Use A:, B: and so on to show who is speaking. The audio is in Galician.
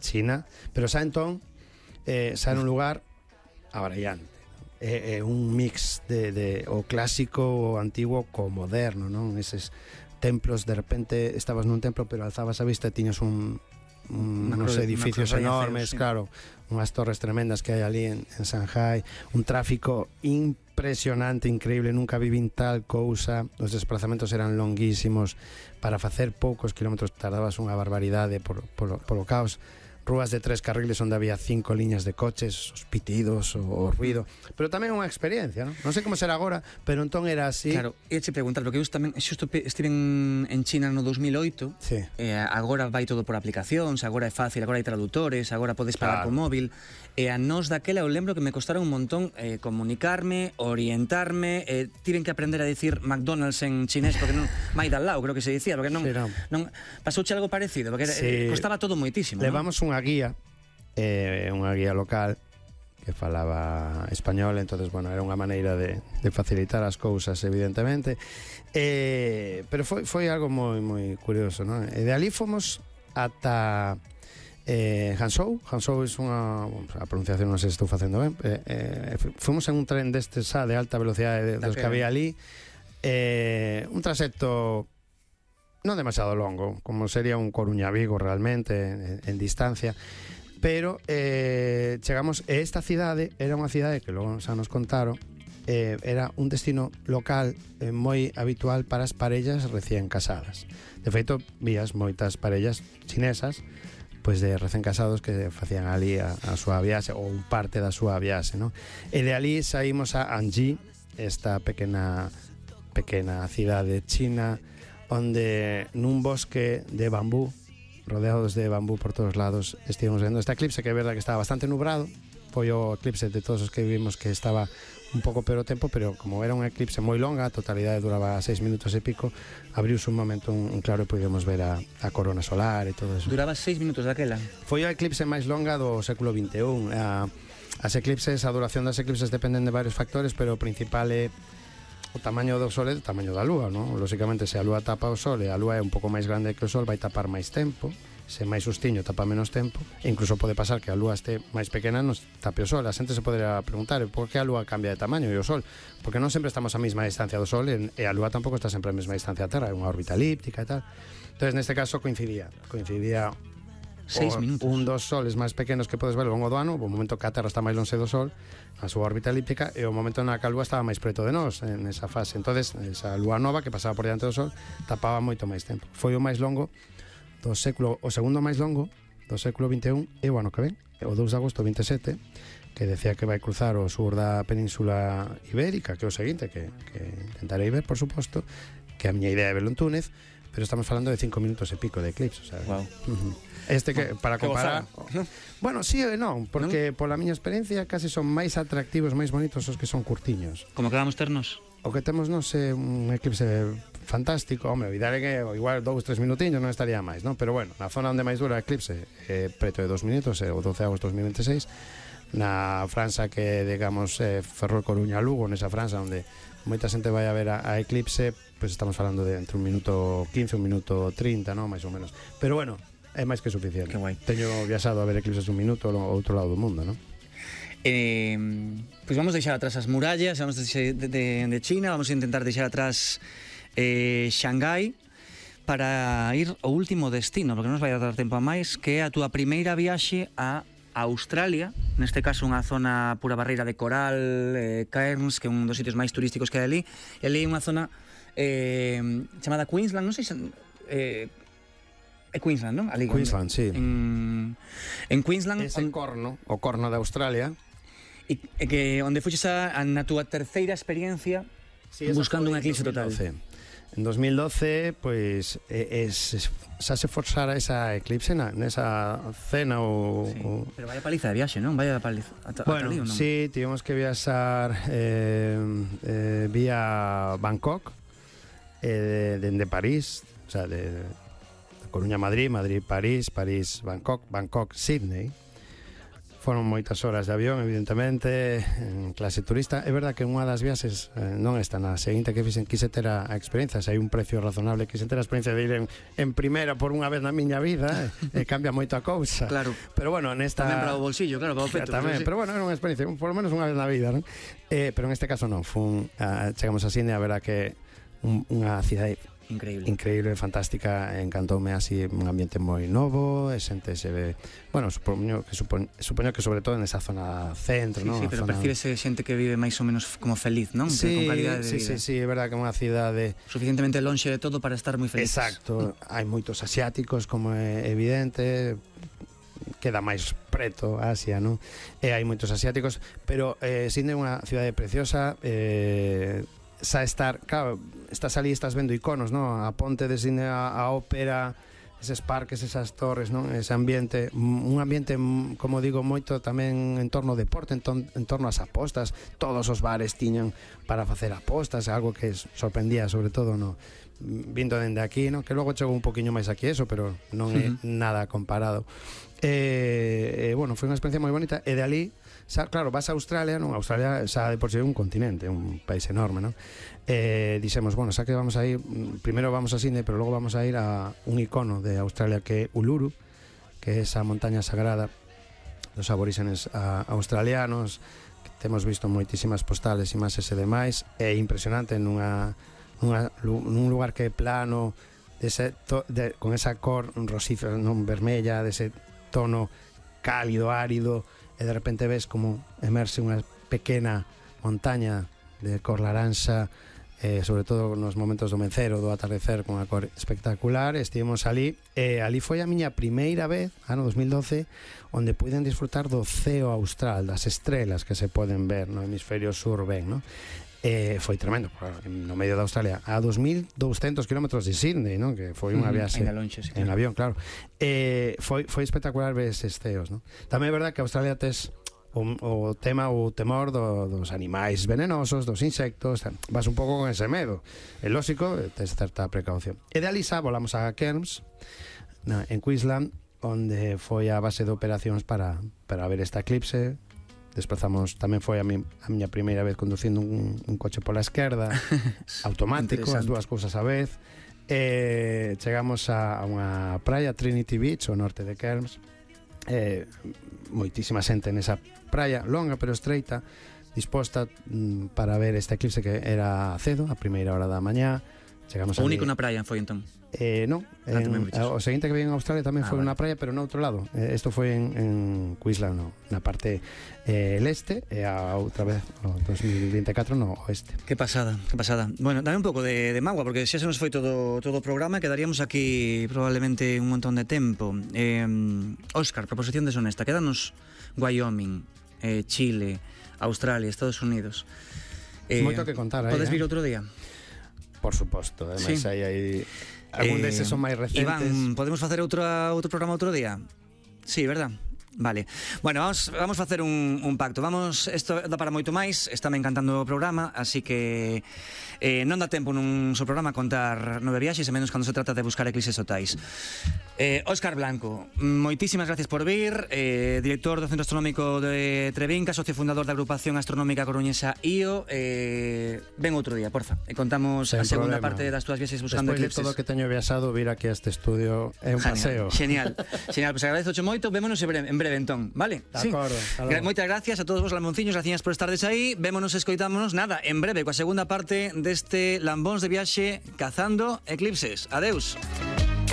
A: China, pero xa entón xa nun lugar abrallante. É un mix de o clásico, o antigo co moderno, non? Eses templos, de repente estabas nun templo pero alzabas a vista e tiñas unos edificios enormes, sí. Claro, unhas torres tremendas que hai ali en Shanghai, un tráfico impresionante, increíble, nunca vivín tal cousa, os desplazamentos eran longuísimos, para facer poucos kilómetros tardabas unha barbaridade polo caos, rúas de 3 carriles onde había 5 liñas de coches, os pitidos, o ruido, pero tamén unha experiencia, non sei como será agora, pero entón era así.
B: Claro, ia che preguntar, porque eu tamén xusto estiven en China no 2008,
A: sí.
B: Agora vai todo por aplicacións, agora é fácil, agora hai tradutores, agora podes pagar con móvil, e a nós daquela eu lembro que me costaron un montón comunicarme, orientarme, tiven que aprender a dicir McDonald's en chinés, porque non mai dal lado, creo que se dicía, porque non pasouche algo parecido, porque costaba todo moitísimo.
A: Levamos unha guía local que falaba español, entonces, bueno, era unha maneira de facilitar as cousas, evidentemente, pero foi algo moi curioso, non? E de ali fomos ata Hangzhou é unha, a pronunciación non sei se estou facendo ben, fomos en un tren destes de alta velocidade dos que había ali, un traxecto non demasiado longo, como sería un Coruña-Vigo realmente en distancia, pero chegamos, e esta cidade era unha cidade que logo xa nos contaron, era un destino local moi habitual para as parellas recién casadas. De feito, vías moitas parellas chinesas pois de recén casados que facían ali a súa viaxe, ou un parte da súa viaxe, non? E de ali saímos a Anji, esta pequena cidade china, onde nun bosque de bambú, rodeados de bambú por todos lados, estivemos vendo este eclipse, que é verdad que estaba bastante nubrado, foi o eclipse de todos os que vimos que estaba un pouco peor o tempo, pero como era un eclipse moi longa, a totalidade duraba 6 minutos e pico, abriuse un momento un claro e podíamos ver a corona solar e todo eso.
B: Duraba 6 minutos daquela?
A: Foi a eclipse máis longa do século XXI. As eclipses, a duración das eclipses dependen de varios factores, pero o principal é o tamaño do Sol e o tamaño da Lúa, non? Lóxicamente, se a Lúa tapa o Sol e a Lúa é un pouco máis grande que o Sol, vai tapar máis tempo. Se máis sustiño tapa menos tempo, e incluso pode pasar que a Lúa este máis pequena nos tape o Sol. A xente se poderá preguntar por que a Lúa cambia de tamaño e o Sol, porque non sempre estamos a mesma distancia do Sol e a Lúa tampouco está sempre a mesma distancia da Terra, é unha órbita elíptica e tal. Entonces, neste caso coincidía
B: 6 minutos.
A: Un dos soles máis pequenos que podes ver ao longo do ano, o momento que a Terra está máis lonxe do Sol, a súa órbita elíptica, e o momento na que a Lúa estaba máis preto de nós en esa fase. Entonces, esa Lúa nova que pasaba por diante do Sol tapaba moito máis tempo. Foi o máis longo do século, o segundo máis longo do século XXI, e o ano que ven, o 2 de agosto 27, que decía que vai cruzar o sur da Península Ibérica, que é o seguinte, que intentarei ver, por suposto, que a miña idea é verlo en Túnez, pero estamos falando de 5 minutos e pico de eclipse, o sea,
B: wow.
A: Este que, para comparar, bueno, sí e non, porque pola miña experiencia casi son máis atractivos, máis bonitos os que son curtiños.
B: Como que vamos ternos?
A: O que temos non é un eclipse fantástico, home, o ideal é que igual 2-3 minutiños non estaría máis, non? Pero bueno, na zona onde máis dura o eclipse preto de 2 minutos, o 12 de agosto 2026, na franxa que, digamos, Ferrol Coruña Lugo, nesa franxa onde moita xente vai a ver a eclipse, pois estamos falando de entre 1 minuto 15 e 1 minuto 30, non? Mais ou menos. Pero bueno, é máis que suficiente. Teño viaxado a ver eclipses un minuto ao outro lado do mundo, non?
B: Pois vamos deixar atrás as murallas, vamos de China, vamos a intentar deixar atrás Shanghai para ir ao último destino, porque non nos vai dar tempo a máis, que é a túa primeira viaxe a Australia, neste caso unha zona pura barreira de coral, Cairns, que é un dos sitios máis turísticos que hai ali, e ali é unha zona chamada Queensland, non sei se é Queensland, non? Ali,
A: Queensland, sí.
B: En Queensland,
A: ese o corno de Australia,
B: e que onde fuches na túa terceira experiencia, sí, buscando un eclipse total.
A: En 2012, pois xa se forzara esa eclipse nesa cena ou...
B: Sí, pero vaya paliza de viaxe, non? Vaya paliza.
A: Bueno, non? Sí, tivemos que viaxar vía Bangkok, dende París, o sea, de Coruña a Madrid, Madrid París, París Bangkok, Bangkok Sydney. Foron moitas horas de avión, evidentemente, en clase turista. É verdad que unha das viaxes non está na seguinte que fixen, quise ter a experiencia, se hai un precio razonable, quise ter a experiencia de ir en primeira por unha vez na miña vida, cambia moito a cousa.
B: Claro.
A: Pero bueno, nesta...
B: Tamén para o bolsillo, claro, para o peto.
A: Tamén, pero bueno, era unha experiencia, por lo menos unha vez na vida, non? Pero en este caso non, chegamos a Sydney, a ver a que unha cidade increíble, fantástica, encantoume así, un ambiente moi novo, xente se ve, bueno, supoño que sobre todo nesa zona centro, ¿no?
B: Sí, pero percíbese xente que vive máis ou menos como feliz, non?
A: Sí,
B: con calidade de vida.
A: Sí, é verdad que é unha cidade
B: suficientemente lonxe de todo para estar moi feliz.
A: Exacto, hai moitos asiáticos, como é evidente, queda máis preto Asia, non? E hai moitos asiáticos, pero Sydney é unha cidade preciosa, xa estar, claro, estás ali, estás vendo iconos, non? A ponte de Sydney, a ópera, eses parques, esas torres, non? Ese ambiente, un ambiente, como digo, moito tamén en torno ao deporte, en torno ás apostas. Todos os bares tiñan para facer apostas, algo que sorprendía, sobre todo, no vindo dende aquí, non? Que logo chegou un poquinho máis aquí eso, pero non é nada comparado. Bueno, foi unha experiencia moi bonita, e de ali, claro, vas a Australia, non? Australia xa de por si é un continente, un país enorme, non? Dixemos, bueno, xa que vamos a ir, primeiro vamos a Sydney, pero logo vamos a ir a un icono de Australia que é Uluru, que é esa montaña sagrada dos aborígenes australianos, que temos visto moitísimas postales, imaxes e demais. É impresionante nun lugar que é plano, con esa cor rosífera, non vermella, dese tono cálido, árido, e de repente ves como emerxe unha pequena montaña de cor laranxa, sobre todo nos momentos do mencer ou do atardecer, con a cor espectacular. Estivemos ali, ali foi a miña primeira vez, ano 2012, onde puiden disfrutar do ceo austral, das estrelas que se poden ver no hemisferio sur ben, non? Foi tremendo, no medio de Australia, a 2.200 kilómetros de Sydney, non? Que foi unha viaxe en avión, claro. Foi espectacular ver estes ceos, non? Tamén é verdad que Australia tes o temor dos animais venenosos, dos insectos, vas un pouco con ese medo. É lógico, tes certa precaución. E de Alisa volamos a Cairns, en Queensland, onde foi a base de operacións para ver esta eclipse. Desplazamos, tamén foi a miña primeira vez conducindo un coche pola esquerda, automático, as dúas cousas a vez. Chegamos a unha praia, Trinity Beach, ao norte de Cairns. Moitísima xente nesa praia, longa pero estreita, disposta para ver esta eclipse, que era cedo, a primeira hora da mañá.
B: O único na praia foi entón?
A: Non, o seguinte que vi en Australia tamén foi unha praia, pero no outro lado. Isto foi en Queensland, na parte leste, e a outra vez no 2024 no oeste.
B: Que pasada, que pasada. Bueno, dame un pouco de magua, porque xa se nos foi todo o programa, quedaríamos aquí probablemente un montón de tempo. Óscar, proposición deshonesta, quédanos Wyoming, Chile, Australia, Estados Unidos.
A: Moito que contar aí.
B: Podes vir outro día?
A: Por suposto, ademais hai algún deses son máis recentes.
B: Iván, podemos facer outro programa outro día? Sí, verdad? Vale. Bueno, vamos facer un pacto. Isto dá para moito máis, estáme encantando o programa, así que non dá tempo nun só programa contar 9 viaxes, e menos cando se trata de buscar eclipses totais. Óscar Blanco, moitísimas gracias por vir, director do Centro Astronómico de Trevinca, socio fundador da agrupación astronómica coruñesa IO. Ven outro día, porfa, e contamos a segunda parte das túas viaxes buscando eclipses.
A: Despois de todo o que teño viaxado, vir aquí a este estudio é un paseo.
B: Genial, pues agradezoche moito, vémonos en breve entón, vale?
A: De acordo.
B: Moitas gracias a todos vos lamonciños, gracias por estardes aí, vémonos e escoitámonos, nada, en breve, coa segunda parte deste Lambóns de viaxe cazando eclipses. Adeus.